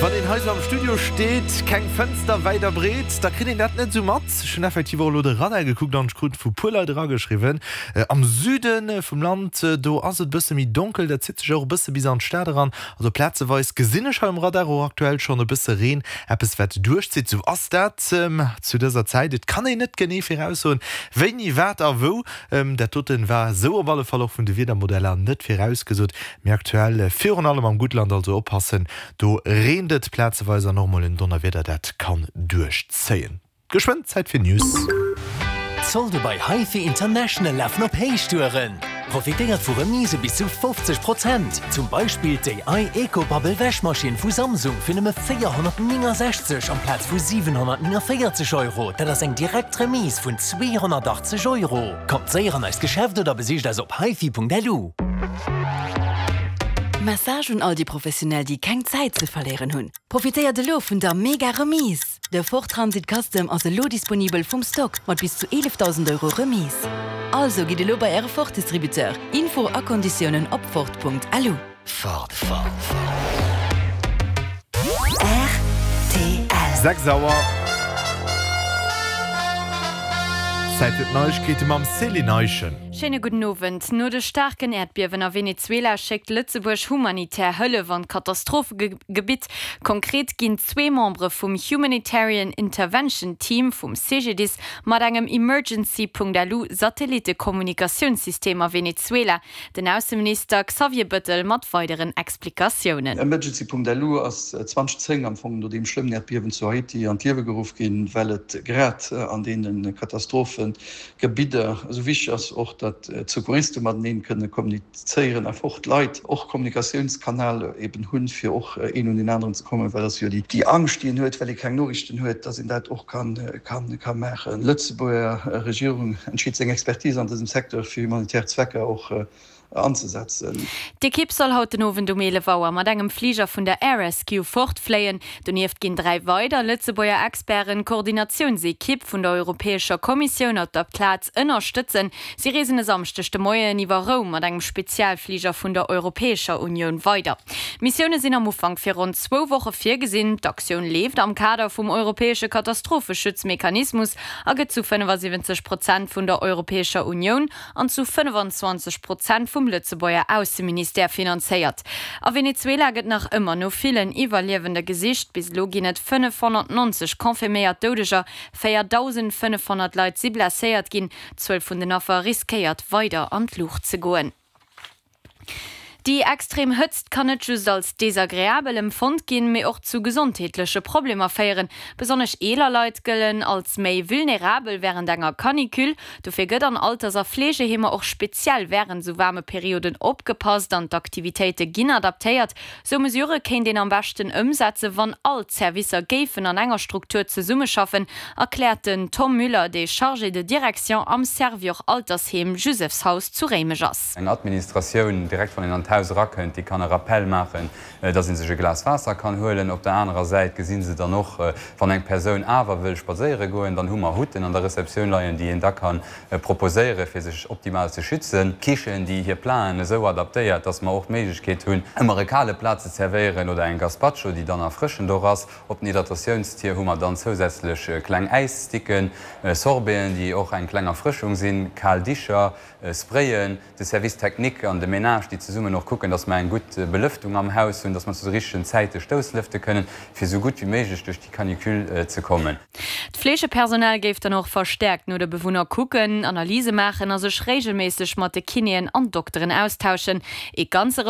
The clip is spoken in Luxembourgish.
Wann een hei sou am Studio steet, keng Fënster wäit a breet, da kritt een dat net sou mat. Ech hunn effektiv och elo de Radar gekuckt an ech krut vu puer Leit erageschriwwen, am Süde vum Land, do ass et bësse méi donkel, dat zitt sech och e bësse bis an d'Stad eran. Also plazeweis gesinn ech hei um Radar och aktuell schonn e bësse Reen, eppes wat duerchzitt. Sou ass dat zu dëser Zäit, et kann een net genee viraussoen, wéini, wat a wou. Dat doten war sou op alle Fall och vun de Wiedermodeller net virausgesot. Mee aktuell virun allem am Guttland, also oppassen, do reent et plazeweis an och mol en Donnerwieder dat kann duerchzéien. Geschwënn Zäit fir News. D'Solde bei HiFi International lafen op Héichtouren! Profitéiert vu Remise bis zu 50 Prozent! Zum Beispill d'AI EcoBubble Wäschmaschinn vu Samsung fir nëmme 469 amplaz vu 749 Euro, dat ass eng direkt Remise vun 280 Euro! Kommt séier an eist Geschäft oder besicht eis op hifi.lu. Message un all déi Professionell déi keng Zäit ze verléieren hunn, Profitéiert elo vun der mega Remise! De Ford Transit Custom ass elo disponibel vum Stock mat bis zu 11.000 Euro Remise. Also gitt elo bei äre Ford Distributeur. Info a Konditiounen op Ford.lu. Ford. Rtl. 6 Auer. Zäit fir d'Neiegkeete mam Céline Eischen. Schéine gudden Owend. No de staarken Äerdbiewen a Venezuela schéckt Lëtzebuerg humanitär Hëllef an d'Katastrophegebitt. Konkret ginn zwee Membere vum Humanitarian Intervention Team vum CGDIS mat engem Emergency.lu Satellittekommunikatiounssystem a Venezuela. Den Ausseminister Xavier Bëttel mat weideren Explikatiounen. Emergency.lu ass 2010 am Fong no deem schlëmmen Äerdbiewen zu Haiti an d'Liewe geruff ginn, well et grad an deene Katastrophegebidder esou wichteg ass, och datt d'Secouriste mateneen kënne kommunizéieren, einfach och d'Leit och Kommunikatiounskanal eben hunn, fir och een un deen aneren ze kommen, well et ass jo déi Angscht, déi een huet, well ee keng Noriichten huet, datt een dat och ka maachen. Lëtzebuerger Regierung entscheet seng Expertise an dësem Secteur fir humanitär Zwecker och anzesetzen. D'Ekipp soll haut den Owend um 11 Auer mat engem Fliger vun der Air Rescue fortfléien. Donieft ginn 3 weider Lëtzebuerger Experten d'Koordinatiounsekipp vun der Europäescher Kommissioun op der Plaz ënnerstëtzen. Si reesen e Samschdeg de Moien iwwer Roum mat engem Spezialfliger vun der Europäescher Unioun weider. D'Missioune sinn am Ufank fir ronn zwou Woche virgesinn. D'Aktioun leeft am Kader vum europäesche Katastropheschutzmechanismus a gëtt zu 75 Prozent vun der Europäescher Unioun an zu 25 Prozent vum Lëtzebuerger Ausseministère finanzéiert. A Venezuela gëtt nach ëmmer no villen Iwwerliewende gesicht. Bis elo ginn et 590 confirméiert Doudeger, 4.500 Leit si blesséiert ginn. D'Zuel vun den Affer riskéiert weider an d'Luucht ze goen. Déi extrem Hëtzt kann net just als desagreabel empfonnt ginn, mee och zu gesondheetleche Problemer féieren. Besonnesch eeler Leit gëllen als méi vulnerabel wärend enger Canicule. Dofir gëtt an Alters a Fleegeheemer och speziell wärend esou waarme Perioden opgepasst an d'Aktivitéite ginn adaptéiert. Sou Mesurë kéint een am beschten ëmsetzen, wann all d'Servicer géifen an enger Struktur zesummeschaffen, erkläert den Tom Müller, dee Chargé de direction am Servior Altersheem Jusefshaus zu Réimech ass. Eng Administratioun, direkt wann een an d'Haus erakënnt, déi kann e Rappel maachen, dass ee sech e Glas Waasser kann huelen. Op der anerer Säit gesi se dann och, wann eng Persoun awer wëll spadséiere goen, dann hu mer Hutten an der Receptioun leien, déi een da ka proposéieren, fir sech optimal ze schützen. Kichen, déi hir Platen esou adaptéiert, dass mer och d'Méiglechkeet hunn, ëmmer e kale Plat ze zerwéieren oder eng Gazpacho, déi dann erfrëschend och ass. Op den Hydratiounstier hu mer dann zousätzlech kleng Äissticken, Sorbeten, déi och eng kleng Erfrëschung sinn, kal Dicher, Sprayen, de Service technique an de Ménage, déi zesummen och kucken, dass mer eng gutt Belëftung am Haus hunn, dass mer zu de richtegen Zäite Stousslëfte kënnen, fir esou gutt wéi méiglech duerch déi Canicule ze kommen. D'Fleegepersonal géif dann och verstäerkt no de Bewunner kucken, Analyse maachen a sech reegelméisseg mat de Kinéen an Dokteren austauschen. Ee ganze.